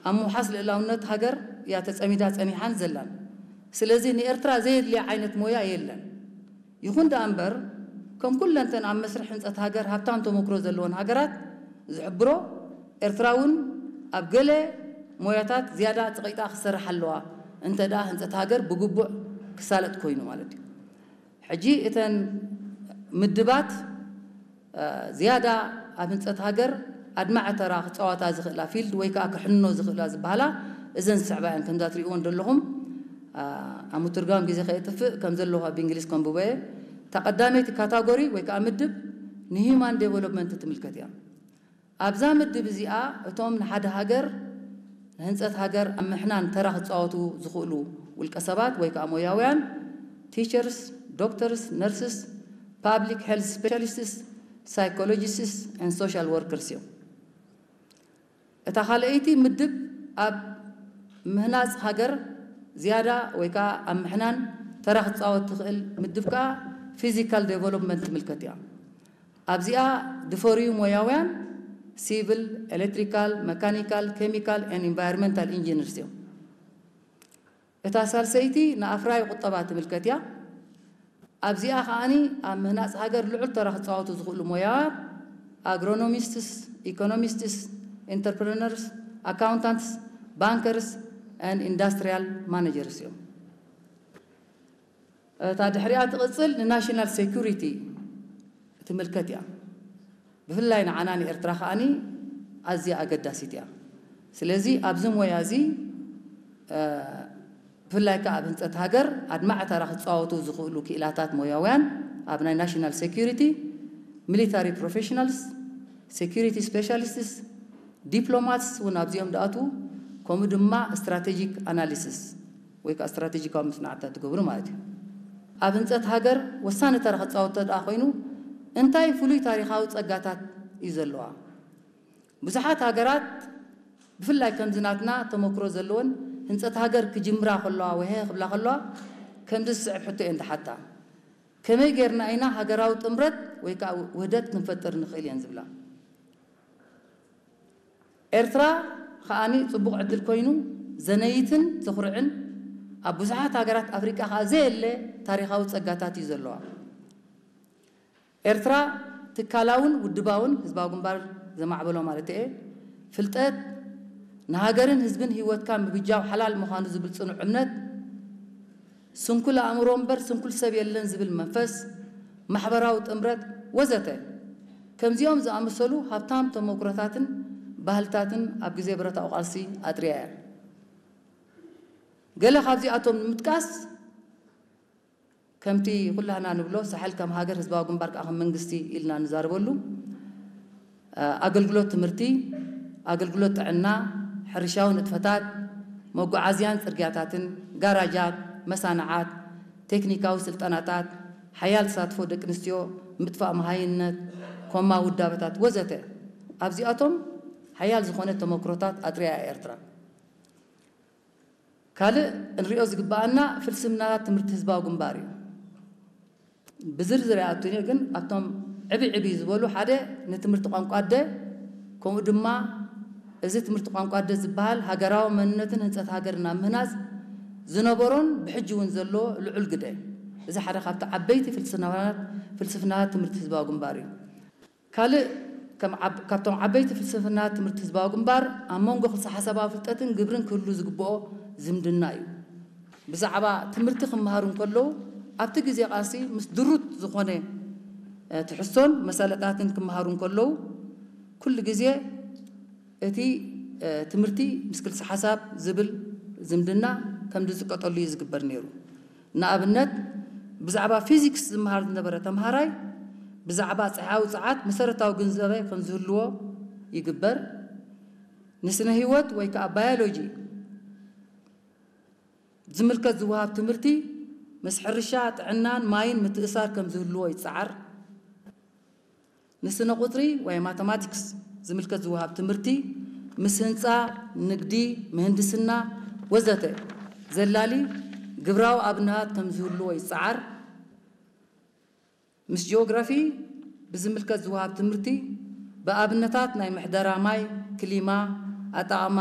ኣብ ምውሓስ ልእላውነት ሃገር እያ ተጸሚዳ ጸኒሓን ዘላን። ስለዚ ንኤርትራ ዘየድልያ ዓይነት ሞያ የለን። ይኹን ደኣ እምበር፣ ከም ኩለንተን ኣብ መስርሕ ህንጸት ሃገር ሃብታም ተመክሮ ዘለወን ሃገራት ዝሕብሮ፣ ኤርትራ እውን ኣብ ገለ ሞያታት ዝያዳ ጽቒጣ ክትሰርሕ ኣለዋ፣ እንተ ደኣ ህንጸት ሃገር ብግቡእ ክሳለጥ ኮይኑ ማለት እዩ። ሕጂ እተን ምድባት ዝያዳ ኣብ ህንጸት ሃገር ኣድማዒ ተራ ክጻወታ ዝኽእላ ፊልድ ወይ ከኣ ክሕንኖ ዝኽእላ ዝበሃላ እዘን ዝስዕባ እየን። ከምዛ ትርእይወን ዘለኹም ኣብ ምትርጓም ግዜ ከየጥፍእ ከም ዘለኹ ኣብ እንግሊዝ ከንብቦ እየ። እታ ቀዳመይቲ ካታጎሪ ወይ ከኣ ምድብ ንሂዩማን ዴቨሎፕመንት ትምልከት እያ። ኣብዛ ምድብ እዚኣ እቶም ንሓደ ሃገር ንህንጸት ሃገር ኣብ ምሕናን ተራ ክጻወቱ ዝኽእሉ ውልቀ ሰባት ወይ ከኣ ሞያውያን ቲቸርስ፣ ዶክተርስ፣ ነርስስ፣ ፓብሊክ ሄልዝ ስፔሻሊስትስ፣ ሳይኮሎጂስትስ ኤንድ ሶሻል ወርከርስ እዮም። እታ ካልኣይቲ ምድብ ኣብ ምህናጽ ሃገር ዝያዳ ወይ ከኣ ኣብ ምሕናን ተራ ክትጻወት ትኽእል ምድብ ከኣ ፊዚካል ዴቨሎፕመንት ትምልከት እያ። ኣብዚኣ ድፈርዩ ሞያውያን ሲቪል፣ ኤሌክትሪካል፣ መካኒካል፣ ኬሚካል ኤንድ ኢንቫይሮንመንታል ኢንጂነርስ እዮም። እታ ሳልሰይቲ ንኣፍራይ ቁጠባ ትምልከት እያ። ኣብዚኣ ከኣኒ ኣብ ምህናጽ ሃገር ልዑል ተራ ክጻወቱ ዝኽእሉ ሞያውያን ኣግሮኖሚስትስ፣ ኢኮኖሚስትስ፣ ኢንተርፕረነርስ፣ ኣካውንታንትስ፣ ባንከርስ ኤንድ ኢንዳስትሪያል ማኔጀርስ እዮም። እታ ድሕሪኣ ትቕጽል ንናሽናል ሴኩሪቲ ትምልከት እያ። ብፍላይ ንዓና ንኤርትራ ከኣኒ ኣዝያ ኣገዳሲት እያ። ስለዚ ኣብዚ ሞያ እዚ ብፍላይ ከኣ ኣብ ህንጸት ሃገር ኣድማዒ ተራ ክጻወቱ ዝኽእሉ ክኢላታት ሞያውያን ኣብ ናይ ናሽናል ሴኩሪቲ፣ ሚሊታሪ ፕሮፌሽናልስ፣ ሴኩሪቲ ስፔሻሊስትስ፣ ዲፕሎማትስ እውን ኣብዚኦም ዝኣትዉ፣ ከምኡ ድማ ስትራቴጂክ ኣናሊሲስ ወይ ከዓ ስትራቴጂካዊ መጽናዕትታት ዝገብሩ ማለት እዩ። ኣብ ህንጸት ሃገር ወሳኒ ተራ ክጻወት እንተ ደኣ ኮይኑ እንታይ ፍሉይ ታሪኻዊ ጸጋታት እዩ ዘለዋ? ብዙሓት ሃገራት ብፍላይ ከምዚ ናትና ተመክሮ ዘለወን ህንጸት ሃገር ክጅምራ ከለዋ ወይ ሀ ክብላ ከለዋ ከምዚ ዝስዕብ ሕቶ እየን ዝሓታ። ከመይ ጌርና ኢና ሃገራዊ ጥምረት ወይ ከዓ ውህደት ክንፈጥር ንኽእል እየን ዝብላ። ኤርትራ ከኣኒ ጽቡቕ ዕድል ኮይኑ ዘነይትን ዘኹርዕን ኣብ ብዙሓት ሃገራት ኣፍሪቃ ከኣ ዘየለ ታሪኻዊ ጸጋታት እዩ ዘለዋ። ኤርትራ ትካላውን ውድባውን ህዝባዊ ግንባር ዘማዕበሎ ማለት እየ። ፍልጠት ንሃገርን ህዝብን ህይወትካ ምብጃው ሓላል ምዃኑ ዝብል ጽኑዕ እምነት፣ ስንኩል ኣእምሮ እምበር ስንኩል ሰብ የለን ዝብል መንፈስ፣ ማሕበራዊ ጥምረት ወዘተ። ከምዚኦም ዝኣመሰሉ ሃብታም ተመኩሮታትን ባህልታትን ኣብ ግዜ ብረታዊ ቃልሲ ኣጥርያ እያ። ገለ ካብዚኣቶም ንምጥቃስ፣ ከምቲ ኩላህና ንብሎ ሳሕል ከም ሃገር ህዝባዊ ግንባር ከዓ ከም መንግስቲ ኢልና ንዛረበሉ፣ ኣገልግሎት ትምህርቲ፣ ኣገልግሎት ጥዕና፣ ሕርሻዊ ንጥፈታት፣ መጓዓዝያን ጽርግያታትን፣ ጋራጃት፣ መሳንዓት፣ ቴክኒካዊ ስልጠናታት፣ ሓያል ተሳትፎ ደቂ ኣንስትዮ፣ ምጥፋእ መሃይምነት፣ ኮማ ውዳበታት ወዘተ። ኣብዚኣቶም ሓያል ዝኾነ ተመክሮታት ኣጥርያ እያ ኤርትራ። ካልእ እንሪኦ ዝግበኣና ፍልስፍናታት ትምህርቲ ህዝባዊ ግንባር እዩ። ብዝርዝር ኣይኣቱን እየ፣ ግን ኣብቶም ዕብይ ዕብይ ዝበሉ ሓደ ንትምህርቲ ቋንቋ ኣደ፣ ከምኡ ድማ እዚ ትምህርቲ ቋንቋ ኣደ ዝበሃል ሃገራዊ መንነትን ህንጸት ሃገርን ኣብ ምህናጽ ዝነበሮን ብሕጂ እውን ዘሎ ልዑል ግደ። እዚ ሓደ ካብቲ ዓበይቲ ፍልስፍናታት ፍልስፍናታት ትምህርቲ ህዝባዊ ግንባር እዩ። ካልእ ከም ዓብ-፣ ካብቶም ዓበይቲ ፍልስፍናታት ትምህርቲ ህዝባዊ ግንባር ኣብ መንጎ ክልሰ ሓሳባዊ ፍልጠትን ግብርን ክህሉ ዝግብኦ ዝምድና እዩ። ብዛዕባ ትምህርቲ ክመሃሩ እንከለዉ ኣብቲ ግዜ ቃልሲ ምስ ድሩት ዝኾነ እ፣ ትሕዝቶን መሳለጣትን ክመሃሩ እንከለዉ ኩሉ ግዜ እቲ እ፣ ትምህርቲ ምስ ክልሰ ሓሳብ ዝብል ዝምድና ከም ዝጥቀጠሉ እዩ ዝግበር ነይሩ። ንኣብነት ብዛዕባ ፊዚክስ ዝመሃር ዝነበረ ተምሃራይ ብዛዕባ ጸሓያዊ ጸዓት መሰረታዊ ግንዛበ ከም ዝህልዎ ይግበር። ንስነ ህይወት ወይ ከዓ ባዮሎጂ ዝምልከት ዝወሃብ ትምህርቲ ምስ ሕርሻ፣ ጥዕናን ማይን ምትእሳር ከም ዝህልዎ ይጸዓር። ንስነ ቁጽሪ ወይ ማተማቲክስ ዝምልከት ዝወሃብ ትምህርቲ ምስ ህንጻ፣ ንግዲ፣ ምህንድስና ወዘተ ዘላሊ ግብራዊ ኣብነታት ከም ዝህልዎ ይጸዓር። ምስ ጂኦግራፊ ብዝምልከት ዝወሃብ ትምህርቲ ብኣብነታት ናይ ምሕደራ ማይ፣ ክሊማ፣ ኣጠቓቕማ